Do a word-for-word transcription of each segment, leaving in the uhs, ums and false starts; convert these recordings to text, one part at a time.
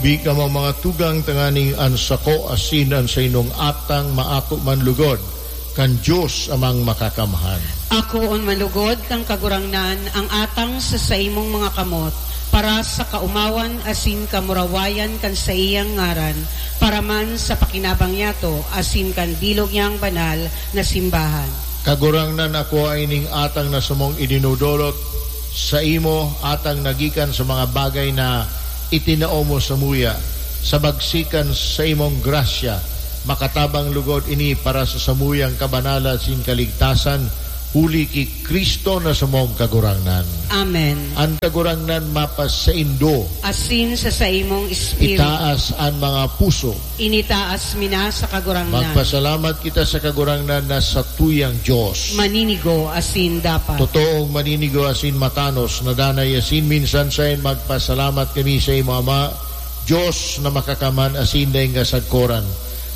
Bi kamo mga tugang tanganing an sako asin an sainong atang maako man lugod kan Dios Amang Makakamhan. Akoon man lugod kan Kagurangnan ang atang sa saimong mga kamot, para sa kaomawan asin kamurawayan kan saiyang ngaran, para man sa pakinabang niyato asin kan bilog niyang banal na simbahan. Kagurangnan, ako ining atang na samong idinudolot saimo, atang na gikan sa mga bagay na itinao mo samuya, sa bagsikan sa imong grasya, makatabang lugod ini para sa samuyang kabanalan asin kaligtasan, huli ki Cristo na samong Kagurangnan. Amen. An Kagurangnan mapasaindo. Asin sa saimong espiritu. Itaas an mga puso. Initaas mi na sa Kagurangnan. Magpasalamat kita sa Kagurangnan na satuyang Dios. Maninigo asin dapat. Totoong maninigo asin matanos na danay asin minsan saen magpasalamat kami sa imo, Ama, Dios na makakamhan asin daing kasagkoran.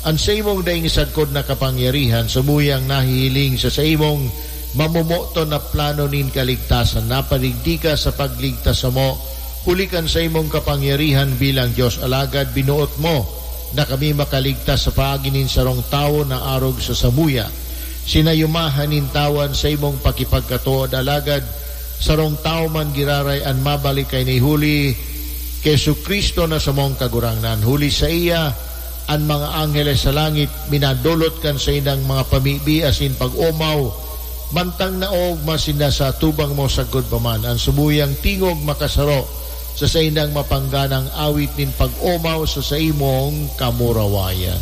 An saimong daing sagkod na kapangyarihan, samuyang nahihiling sa saimong mamomoton na plano nin kaligtasan, napadigdi ka sa pagligtas samo, huli kan saimong kapangyarihan bilang Dios, alagad binuot mo na kami makaligtas sa paagi nin sarong tawo na arog sa samuya. Sinayumahan nin tawo an saimong pakipagkatood, alagad sarong tawo man giraray an mabalik kaini, huli ki Jesu-Cristo na samong Kagurangnan. Huli saiya, an mga angheles sa langit minadolot kan saindang mga pamibi asin pag-omaw, mantang naoogma sinda sa atubang mo sagkod pa man. An samuyang tingog makasaro sa saindang mapangganang awit nin pag-omaw sa saimong kamurawayan.